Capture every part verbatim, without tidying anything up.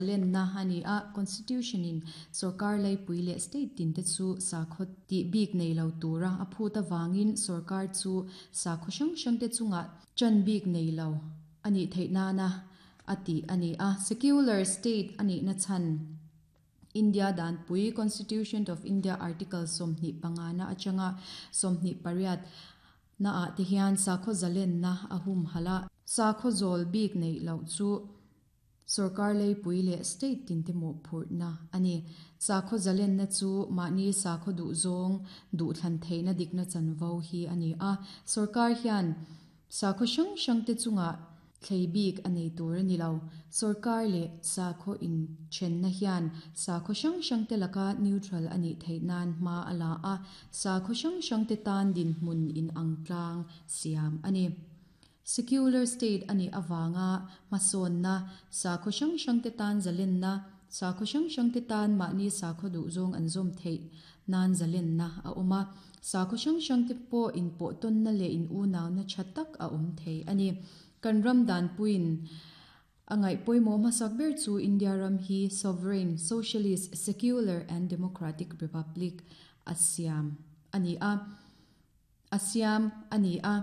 Lenna a ni a, Constitution in sorkar laipui leh state tin te chu sakhaw tih bik nei lo tura a phut avangin sorkar chu sakhaw hrang hrang te chungah tan bik nei lo a nih theih nana a tih a ni a. Secular state a nihna chhan India danpui Constitution of India Article sawmhnih pangana atanga sawmhnih pariat na ah te hian sakhaw zalenna a hum hala sakhaw zawl bik nei lo chu sorkar laipui leh state tin te mawhphurhna a ni. Sakhaw zalenna chu mahni sakhaw duh zawng duh thlan theihna dikna chanvo hi a ni a. Sorkar hian sakhaw hrang hrang te chungah thlei bik a nei tur a ni lo. Sorkar leh sakhaw inthenna hian sakhaw hrang hrang te laka neutral a nih theih nan hma a la a, sakhaw hrang hrang te tan dinhmun inang tlang siam a ni. Secular state a nih avanga hmasawnna sakhaw hrang hrang te tan zalenna sakhaw hrang hrang te tan mahni sakhaw duh zawng an zawm theih nan zalenna a awm a, sakhaw hrang hrang te pawh inpawh tawnna leh in unauna tha tak a awm thei a ni. Kan ram danpuiin a ngaih pawimawh hmasak ber chu India ram hi sovereign, socialist, secular and democratic republic a siam a ni a a siam a ni a.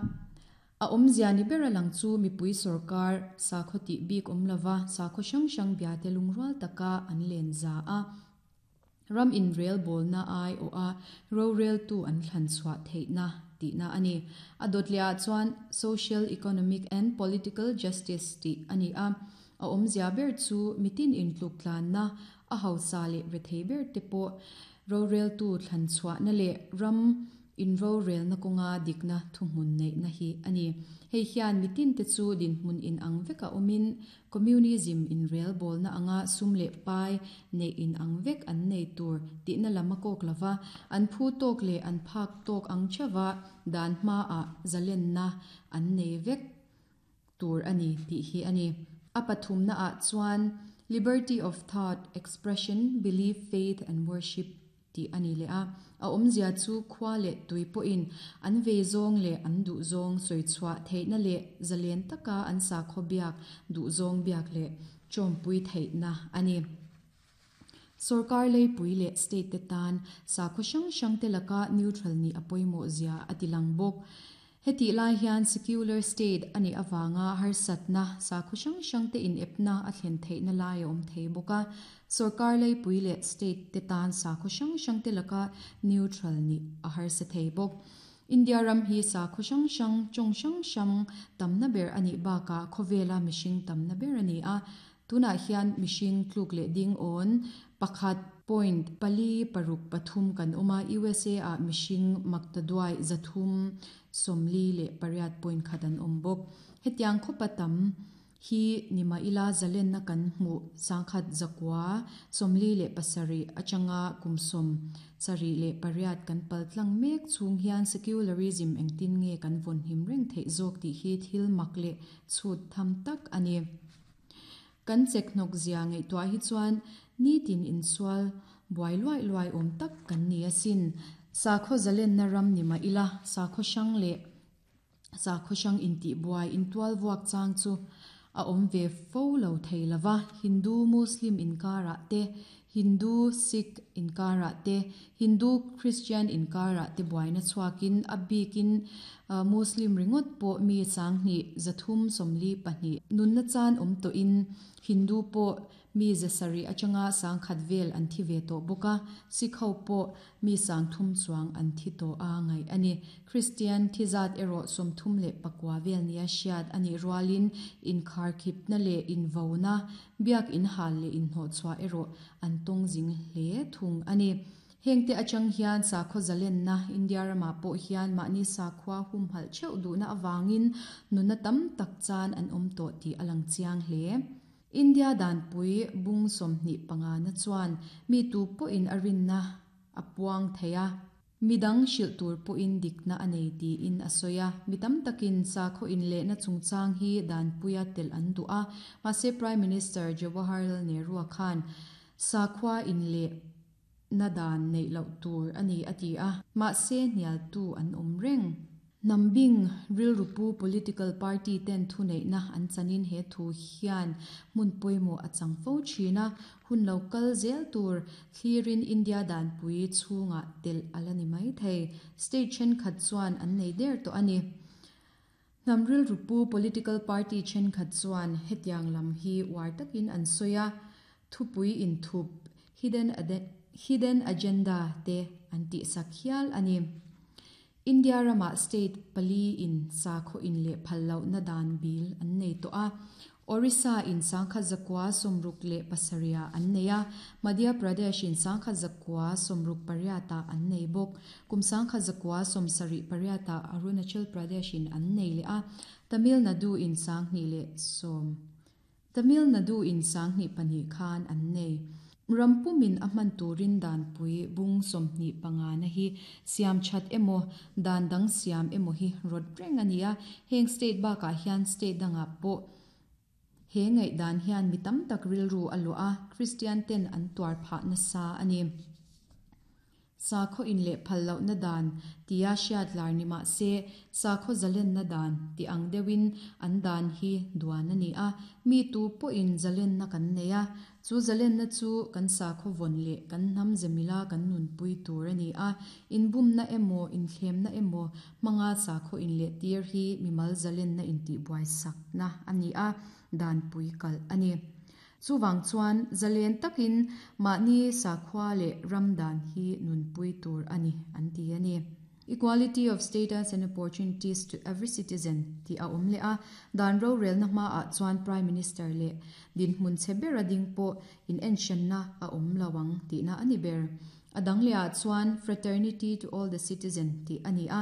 A awmzia ni ber a lang chu mipui sorkar sakhaw tih bik awm lova sakhaw hrang hrang bia te lungrual taka an len za a. Ram in rel bawlna ai aw a rorel tu an thlan chhuah theihna tihna a ni. A dawtliah chuan social, economic and political justice tih a ni a. A awmzia ber chu mitin intluk tlanna a hausa leh rethei ber te pawh rorel tu thlan chhuahna leh ram in rorelna kawnga dikna thuhmun neihna hi a ni. Hei hian mitin te chu dinhmun in ang veka awmin communism in rel bawlna anga sum leh pai nei in ang vek an nei tur tihna lam a kawk lova an phu tawk leh an phak tawk ang thewa dan hma a zalenna an nei vek tur a ni tih hi a ni. A pathumna ah chuan liberty of thought, expression, belief, faith and worship tih a ni leh a. A awmzia chu khua leh tui pawhin an ve zawng leh an duh zawng sawi chhuah theihna leh zalen taka an sakhaw biak duh zawng biak leh tawmpui theihna a ni. Sorkar laipui leh state te tan sakhaw hrang hrang te laka neutral ni a pawimawh zia a ti lang bawk. Heti lai hian secular state a nih awanga harsatna sakhaw hrang hrang te in epna a thlen theihna lai a awm thei bawk a. Sorkar laipui leh state te tan sakhaw hrang hrang te laka neutral ni a harsa thei bawk. India ram hi sakhaw hrang hrang tawng hrang hrang tamna ber a nih bakah khawvela mihring tamna ber a ni a. Tunah hian mihring tluk leh ding awn pakhat point pali paruk pathum kan awm a. U S A ah mihring maktaduai zathum sawmli leh pariat point khat an awm bawk. Hetiang khawpa tam hi nima ila zalenna kan hmu sangkhat zakwa sawmli leh pasarih atanga kumsawm sarih leh pariat kan pal tlang mek chung hian secularism engtin nge kan vawn him reng theih zawk tih hi thil mak leh chhut tham tak a ni. Kan chek hnawk zia ngaihtuah hi chuan nitin insual buai luai luai awm tak kan ni asin. Sakhaw zalenna ram nima ila sakhaw hrang leh sakhaw hrang intih buai intual vuak chang chu a awm ve fo lo thei lova. Hindu Muslim inkarah te, Hindu Sikh inkarah te, Hindu Christian inkarah te buaina chhuakin a bikin Muslim ringawt pawh mi sanghnih zathum sawmli pahnih nunna chan awm tawhin Hindu pawh mi zasarih atanga sangkhat vel an thi ve tawh bawk a. Sikh ho pawh mi sangthum chuang an thi tawh a ngaih a ni. Christian thizat erawh sawmthum leh pakua vel nia hriat a nih rualin inkhar khipna leh invona biak inhal leh inhnawh chhuah erawh an tawng zing hle thung a ni. Hengte atang hian sakhaw zalenna India ramah pawh hian mahni sakhua hum halh theuh duhna awangin nunna tam tak chan an awm tawh tih a lang chiang hle. India danpui bung sawmhnih panga na chuan mi tu pawhin a rinna a puang thei a. Midang hrilh tur pawhin dikna a nei tiin a sawi a. Mi tam takin sakhaw inlehna chungchang hi danpuia tel an duh a. Mahse Prime Minister Jawaharlal Nehru khan sakhua inleh na dan neih loh tur a ni a ti a. Mahse hnial tu an awm reng. Nambing rilrupu political party ten thuneihna an chanin he thu hian hmun pawimawh a chang fo thin a, hun lo kal zel tur thlirin India danpui chhungah telh a la ni mai thei. State thenkhat chuan an nei der tawh a ni. Hnam rilrupu political party thenkhat chuan hetiang lam hi uar takin an sawi a, thupui inthup hidden hidden agenda te an tihsak hial a ni. India rama state pali in sakhaw in leh phal lohna dan bil an nei tawh a. Orissa in sangkhat zakua sawmruk leh pasarih an nei a, Madhya Pradesh in sangkhat zakua sawmruk pariatah an nei bawk. Kum sangkhat zakua sawmsarih pariatah Arunachal Pradesh in an nei leh a, Tamil Nadu in sanghnih leh sawm Tamil Nadu in sanghnih pahnih khan an nei. Rampumin a hman turin danpui bung sawmhnih panga na hi siam that emaw dan dang siam emaw hi rawt reng a ni a, heng state bakah hian state dangah pawh he ngaih dan hian mi tam tak rilru a luah a, Christian ten an tuar phah nasa a ni. Sakhaw in leh phal lohna dan tia hriat lar ni mah se sakhaw zalenna dan ti ang deuhin an dan hi duan a ni a, mi tu pawhin zalenna kan nei a, chu zalenna chu kan sakhaw vawn leh kan hnam zemila kan nunpui tur a ni a, inbumna emaw inthlemna emaw hmanga sakhaw in leh tir hi mimal zalenna intihbuai sakna a ni a, danpui kalh a ni. Chuwang chuan zalen takin mahni sakhua leh ram dan hi nunpui tur a ni an ti a ni. Equality of status and opportunities to every citizen ti a awm leh a, dan rorelna hmaah chuan Prime Minister leh dinhmun che ber a ding pawh in enshenna a awm lo ang tihna a ni ber. A dang lehah chuan fraternity to all the citizen ti a ni a,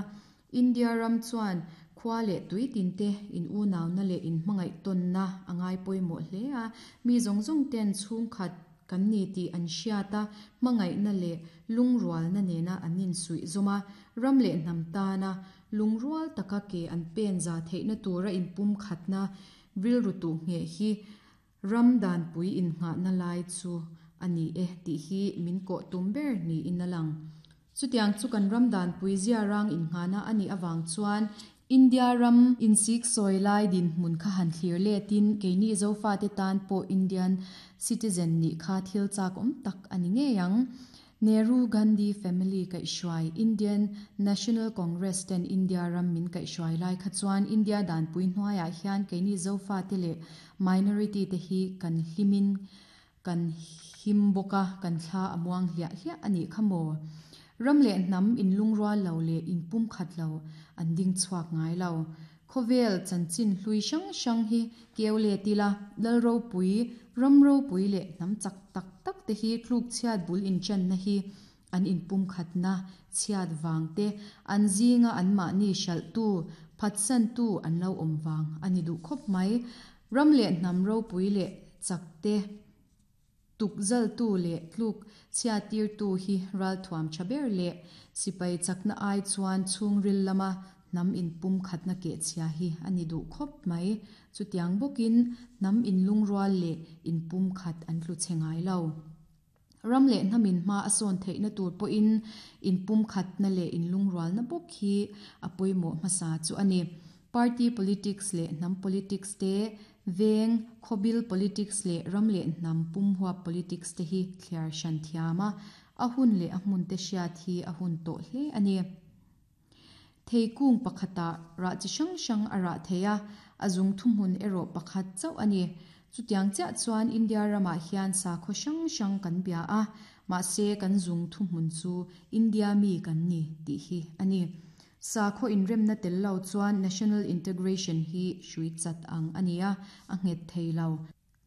India ram chuan khua leh tui tin te in unauna leh in hmangaih tawnna a ngai pawimawh hle a, mi zawng zawng ten chhungkhat kan ni tih an hriat a, hmangaihna leh lungrualna nena an insuih zawm a, ram leh hnam tana lungrual taka ke an pen za theihna tura inpum khatna rilru tuh nge hi ram danpui innghahna lai chu a ni e tih hi min kawh tum ber niin a lang. Chutiang chu kan ram danpui zia rang innghahna a nih avang chuan India ram insik sawi lai dinhmun kha han thlir letin keini Zofa te tan pawh Indian citizen nih kha thil chak awm tak a ni ngei ang. Nehru Gandhi family kaihhruai Indian National Congress ten India ram min kaihhruai lai kha chuan India danpui hnuaiah hian keini Zofa te leh minority te hi kan hlimin kan him bawk a, kan thla a muang hliah hliah a nih kha maw. Ram leh hnam in lungrual lo leh inpum khat lo an ding chhuak ngai lo. Khawvel chanchin hlui hrang hrang hi keu le tila lal ropui ram ropui leh hnam chak tak tak te hi tluk chhiat bul inchanna hi an inpum khatna chhiat wang te an zinga an mahni hralh tu phatsan tu an lo awm wang ani duh khawp mai. Ram leh hnam ropui leh chak te tukzal tu leh tluk chhiat tir tu hi ral thuam tha ber leh sipai chakna ai chuan chhungril lama hnam inpum khatna ke chhia hi ani duh khawp mai. Chutiang bawkin hnam inlungrual leh inpum khat an tlu che ngai lo. Ram leh hnamin hma a sawn theihna tur pawhin inpum khatna leh inlungrualna bawk hi a pawimawh hmasa chu a ni. Party politics leh hnam politics te veng khawbil politics leh ram leh hnam pumhuap politics te hi thliar hran thiam a, a hun leh a hmun te hriat hi a hun tawh hle a ni. Theikung pakhata rah chi hrang hrang a rah thei a, a zung thuhmun erawh pakhat chauh a ni. Chutiang chiah chuan India ramah hian sakhaw hrang hrang kan bia a, mahse kan zung thuhmun chu India mi kan ni tih hi a ni. Sakhaw inremna tel lo chuan national integration hi hrui chat ang a ni a, a nghet thei lo.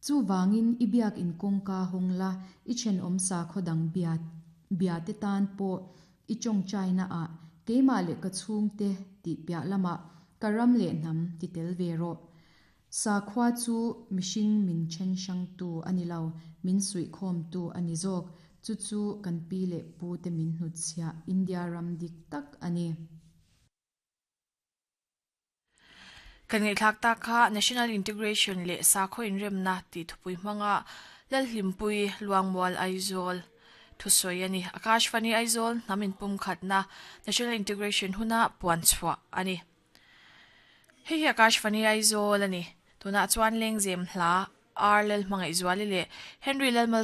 Chu wangin i biak in kawngka hawng la, i thenawm sakhaw dang bia bia te tan pawh i tawng China a keimah leh ka chhung te tih piah lama ka ram leh hnam ti tel ve rawh. Sakhua chu mihring min then hrang tu ani lo, min suih khawm tu ani zawk. Chu chu kan pi leh pu te min hnut chhia India ram dik tak ani. Kan ngai thlak ta kha National Integration leh sakhaw inremna ti thupui hmanga Lalhlimpui Luangmual Aizawl Thusoi ani Akashvani Aizawl namin pum khatna National Integration huna puan chhuah ani. Hei hi Akashvani Aizawl ani. Tuna chuan lengzem hla R Lal Hmangaih Zuali le Henry Lalmal.